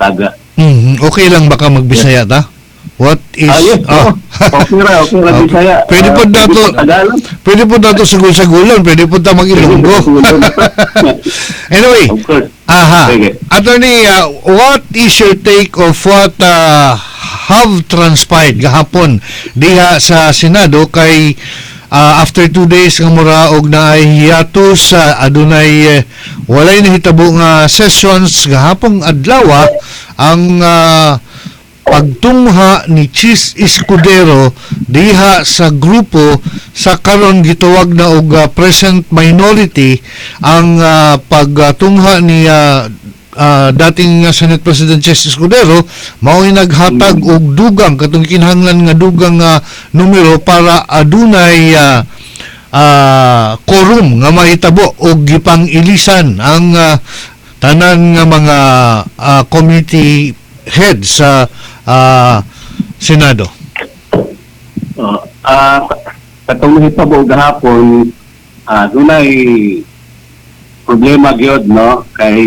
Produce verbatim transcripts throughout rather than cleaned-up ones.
Taga. Mhm. Okay lang baka magbisaya ta? What is Ah, yes, ah. oo. Okay ra, okay ra Ah, Bisaya. Pwede Ah, po nato pwede po Tagalog. Pwede po nato sagol-sagulan, pwede po ta mag-Ilonggo. anyway, Of course. aha. Sige. Attorney, uh, what is your take of what uh, have transpired gahapon diha sa Senado kay uh, after two days nga mura og naay hiatus sa adunay eh, walay nahitabo nga sessions gahapong adlaw ang uh, pagtungha ni Chis Escudero diha sa grupo sa karon gitawag na og uh, present minority ang uh, pagtungha ni uh, uh, dating uh, Senate President Chis Escudero mao'y naghatag og dugang katong kinahanglan nga dugang uh, numero para adunay uh, uh, quorum nga mahitabo og gipang-ilisan ang uh, tanan nga mga uh, committee head sa uh, Senado. Oh, ah katong nahitabo gahapon, ah dunay problema gyud no kay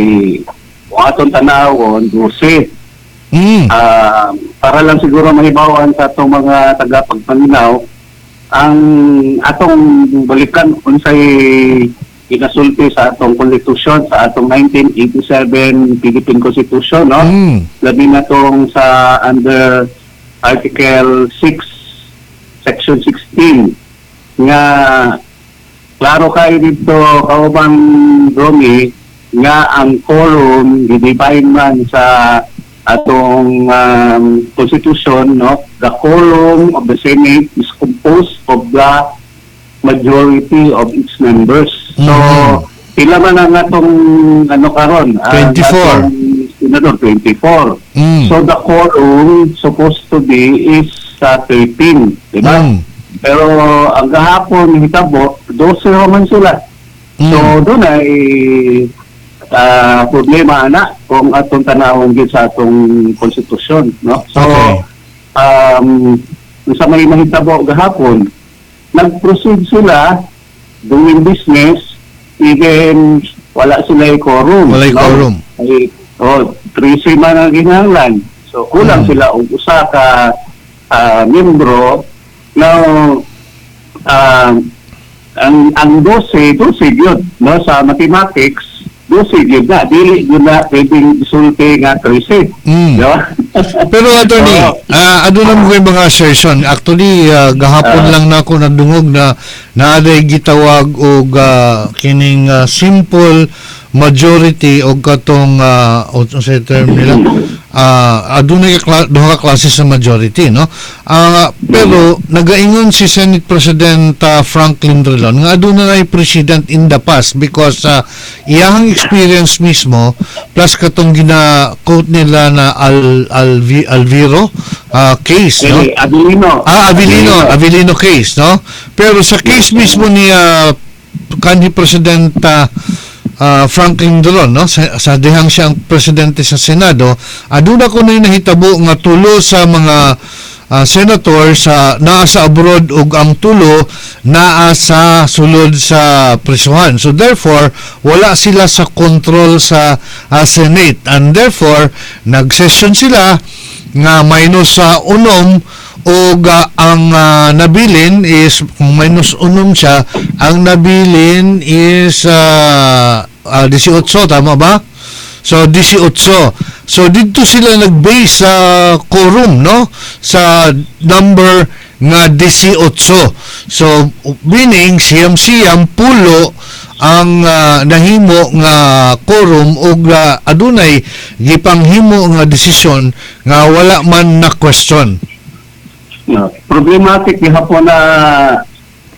kung atong tanawon dose Mm. Ah, para lang siguro mahibawan sa atong mga tagapagpaminaw ang atong balikan unsay ginasulti sa atong konstitusyon sa atong nineteen eighty-seven Philippine Constitution no Mm. labi na tong sa under Article six Section sixteen nga klaro kayo dito kaubang Romy nga ang quorum gidefine man sa atong um, constitution no the quorum of the Senate is composed of the majority of its members so Mhm. pila man ang atong ano karon ang twenty-four. atong senador twenty-four Mm. so the quorum supposed to be is uh, thirteen di ba Mm. pero ang gahapon hitabo twelve man sila Mm. so doon ay ah, problema ana kung atong tanawon gyud sa atong konstitusyon no so Okay. um sa may mahitabo gahapon nag-proceed sila doing business even wala sila quorum Walay no? quorum. ay oh thirteen man ang ginahanglan so kulang Mm. sila og usa ka ah, miyembro now ah, ang ang twelve twelve yun no sa mathematics twelve yun na dili yun na pwedeng isulti nga thirteen Mm. di ba Pero attorney, Oo. ah aduna mo kay mga assertion. Actually, ah, gahapon Ah. lang nako nadungog na naaday gitawag og ah, kining ah, simple majority og katong uh, unsay term nila ah adunay ka kla- duha ka klase sa majority no Ah, pero nagaingon si Senate President ah, Franklin Drilon nga aduna nay president in the past because uh, iyahang experience mismo plus katong gina-quote nila na Al, Alvi, Alviro ah, case no Dili, Avelino. Ah, Avelino, Avelino case, no? Pero sa case mismo ni ah, kanhi President ah, ah, Franklin Drilon, no? Sa, sa dihang siyang presidente sa Senado, aduna ko na nahitabo nga tulo sa mga ah, senator sa naa sa abroad ug ang tulo naa sa sulod sa prisuhan. So therefore, wala sila sa control sa ah, Senate and therefore nag-session sila nga minus sa unom ug ah, ang ah, nabilin is kung minus unom siya ang nabilin is uh, uh, eighteen tama ba? So eighteen. So dito sila nag-base sa quorum no sa number nga eighteen. So meaning siyam-siyam pulo ang ah, nahimo nga quorum ug ah, adunay gipanghimo nga desisyon nga wala man na question. No, problematic gihapon na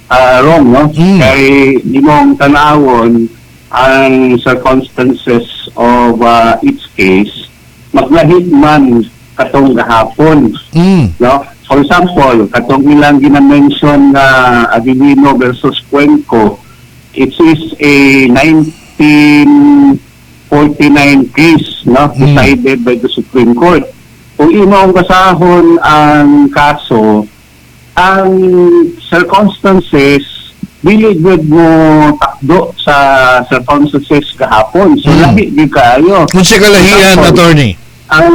ah, wrong no Mm. kay imong tanawon ang circumstances of ah, each case maglahi man katong gahapon Mm. no for example katong ilang gina-mention nga Avelino versus Cuenco it is a nineteen forty-nine case no Mm. decided by the Supreme Court kung imong basahon ang kaso ang circumstances dili gud mo takdo sa circumstances gahapon so Mm. lahi gyud kaayo Kung siya kalahian Example. attorney.